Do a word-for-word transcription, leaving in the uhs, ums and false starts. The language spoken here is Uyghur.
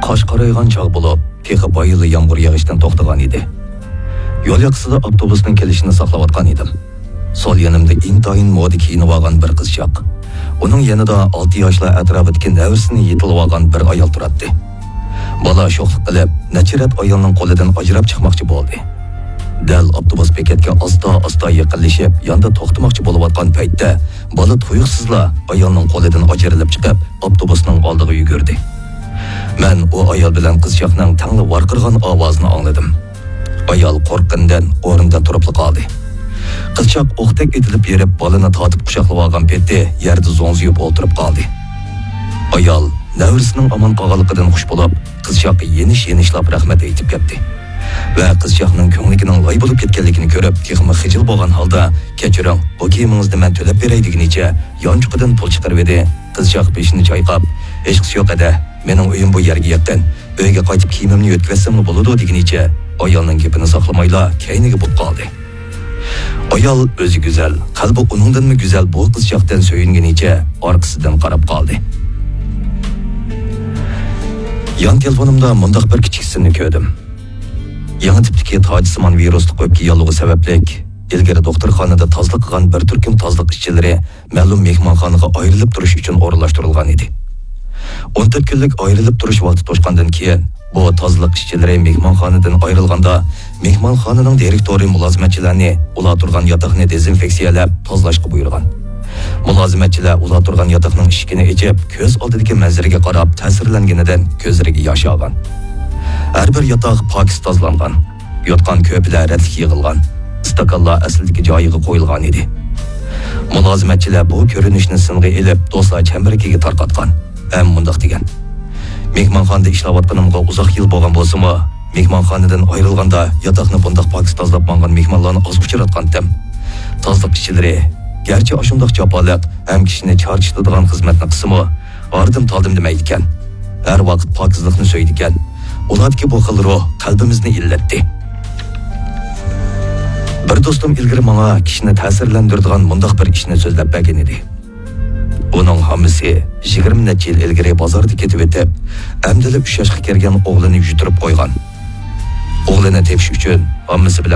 قاش قارايغان چاغ بولۇپ، تېخى بايىلا يامغۇر يېغىشتىن توختىغان ئىدى. يول ياقىسىدا ئاپتوبۇسنىڭ كېلىشىنى ساقلاۋاتقان ئىدىم. سول يېنىمدا ئىنتايىن مودا كىيىنىۋالغان بىر قىزچاق، ئۇنىڭ يېنىدا ئالتە ياشلار ئەتراپىدىكى نەۋرىسىنى يېتىلىۋالغان بىر ئايال تۇراتتى. بالا شوخلۇق قىلىپ، نەچچە رەت ئايالنىڭ قولىدىن ئاجراپ چىقماقچى بولدى. دەل ئاپتوبۇس بېكەتكە ئاستا-ئاستا يېقىنلىشىپ، ياندا توختىماقچى بولۇۋاتقان پەيتتە، بالا تۇيۇقسىزلا ئايالنىڭ قولىدىن ئاجرىلىپ چىقىپ، ئاپتوبۇسنىڭ ئالدىغا يۈگۈردى. مەن ئۇ ئايال بىلەن قىزچاقنىڭ تەڭلا ۋارقىرىغان ئاۋازىنى ئاڭلىدىم. ئايال قورققىنىدىن ئورنىدىن تۇرۇپلا قالدى. قىزچاق ئوقتەك ئېتىلىپ بېرىپ، بالىنى تارتىپ قۇچاقلىۋالغان پېتى يەردە زوڭزىيىپ ئولتۇرۇپ قالدى. ئايال نەۋرىسىنىڭ ئامان قالغانلىقىدىن خۇش بولۇپ، قىزچاققا يېنىش-يېنىشلاپ رەھمەت ئېيتىپ كەتتى. ۋە قىزچاقنىڭ كۆڭلىكىنىڭ لاي بولۇپ كەتكەنلىكىنى كۆرۈپ، تېخىمۇ خىجىل بولغان ھالدا، «كەچۈرۈڭ، بۇ كىيىمىڭىزنى مەن تۆلەپ بېرەي» دېگىنىچە، يانچۇقىدىن پۇل چىقىرىۋىدى. قىزچاق بېشىنى چايقاپ، «ھېچقىسى يوق، ھەدە، مېنىڭ ئۆيۈم بۇ يەرگە يېقىن. ئۆيگە قايتىپ كىيىمىمنى يۆتكىۋەتسەملا بولىدۇ» دېگىنىچە، ئايالنىڭ گېپىنى ساقلىمايلا كەينىگە بۇت قالدى. ئايال ئۆزى گۈزەل، قەلبى ئۇنىڭدىنمۇ گۈزەل بۇ قىزچاقتىن سۆيۈنگىنىچە ئارقىسىدىن قاراپ قالدى. يان تېلېفونۇمدا مۇنداق بىر كىچىك سىننى كۆردۈم. يېڭى تىپتىكى تاجسىمان ۋىرۇسلۇق ئۆپكە ياللۇغى سەۋەبلىك، ئىلگىرى دوختۇرخانىدا تازىلىق قىلغان بىر تۈركۈم تازىلىق ئىشچىلىرى مەلۇم مېھمانخانىغا ئايرىلىپ تۇرۇش ئۈچۈن ئورۇنلاشتۇرۇلغان ئىدى. ئون تۆت كۈنلۈك ئايرىلىپ تۇرۇش ۋاقتى توشقاندىن كېيىن، بۇ تازىلىق ئىشچىلىرى مېھمانخانىدىن ئايرىلغاندا، مېھمانخانىنىڭ دىرېكتورى مۇلازىمەتچىلەرنى ئۇلار تۇرغان ياتاقنى دېزىنفېكسىيەلەپ تازىلاشقا بۇيرۇغان. مۇلازىمەتچىلەر ئۇلار تۇرغان ياتاقنىڭ ئىشىكىنى ئېچىپ، كۆز ئالدىدىكى مەنزىرىگە قاراپ تەسىرلەنگىنىدىن كۆزلىرىگە ياش ئالغان. ھەر بىر ياتاق پاكىز تازىلانغان. يوتقان-كۆرپىلەر رەتلىك يىغىلغان. ئىستاكانلار ئەسلىدىكى جايىغا قويۇلغان ئىدى. مۇلازىمەتچىلەر بۇ كۆرۈنۈشنى سىنغا ئېلىپ، دوستلار چەمبىرىكىگە تارقاتقان ھەم مۇنداق دېگەن: «مېھمانخانىدا ئىشلەۋاتقىنىمغا ئۇزاق يىل بولغان بولسىمۇ، مېھمانخانىدىن ئايرىلغاندا ياتاقنى بۇنداق پاكىز تازىلاپ ماڭغان مېھمانلارنى ئاز ئۇچراتقانتىم. تازىلىق ئىشچىلىرى گەرچە ئاشۇنداق جاپالىق ھەم كىشىنى چارچىتىدىغان خىزمەتنى قىلسىمۇ، ئارىدىن تالدىم دېمەيدىكەن. ھەر ۋاقىت پاكىزلىقنى سۆيىدىكەن. ئۇلاردىكى بۇ خىل روھ قەلبىمىزنى ئىللەتتى.» بىر دوستۇم ئىلگىرى ماڭا كىشىنى تەسىرلەندۈرىدىغان مۇنداق بىر ئىشنى سۆزلەپ بەرگەن ئىدى. ئۇنىڭ ھاممىسى يىگىرمە نەچچە يىل ئىلگىرى بازاردا كېتىۋېتىپ، ئەمدىلا ئۈچ ياشقا كىرگەن ئوغلىنى يۈتۈرۈپ قويغان. ئوغلىنى تېپىش ئۈچۈن ھاممىسى بىلەن